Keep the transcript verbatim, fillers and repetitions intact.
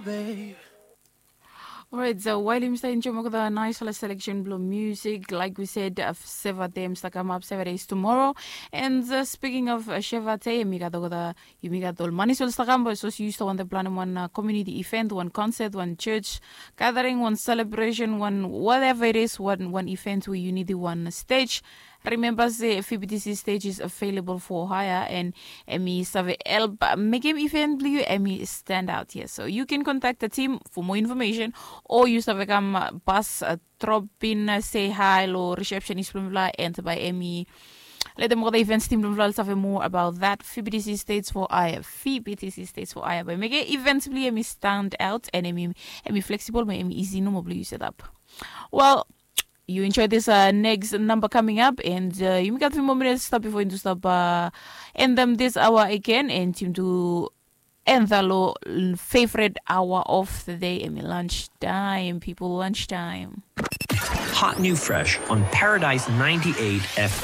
Babe. Alright, so wael yumi stap enjoem olgeta naesfala seleksen blong musik, like we said, uh, Seva Day yumi stap kamap, Seva Day is tomorrow. And uh, speaking of uh, Seva Day, yumi gat olgeta, yumi gat ol manis we oli stap kam, be sapos yu stap wantem planem wan uh, community event, wan concert, wan church gathering, wan celebration, wan whatever it is, wan wan event we yu nidim wan stage, remember se V B T C stage is available for hire, and hemi save help uh, mekem event blong yu hemi stand out here. So you can contact the team for more information, or yu save kam uh, pas uh, drop in uh, say hi lo receptionist blong mifala, and by hemi letem olgeta events team blong mifala oli save more about that. V B T C stage for hire, V B T C stage for hire, by mekem events blong yu hemi stand out, and hemi hemi flexible, be hemi easy nomo blong yu set up. Well, you enjoy this uh, next number coming up, and uh, yumi gat few more minutes stap before yumi stap uh, end them this hour again, and yumi do end the lo favorite hour of the day, hemi lunch time, people, lunch time. Hot new fresh on Paradise ninety-eight F M.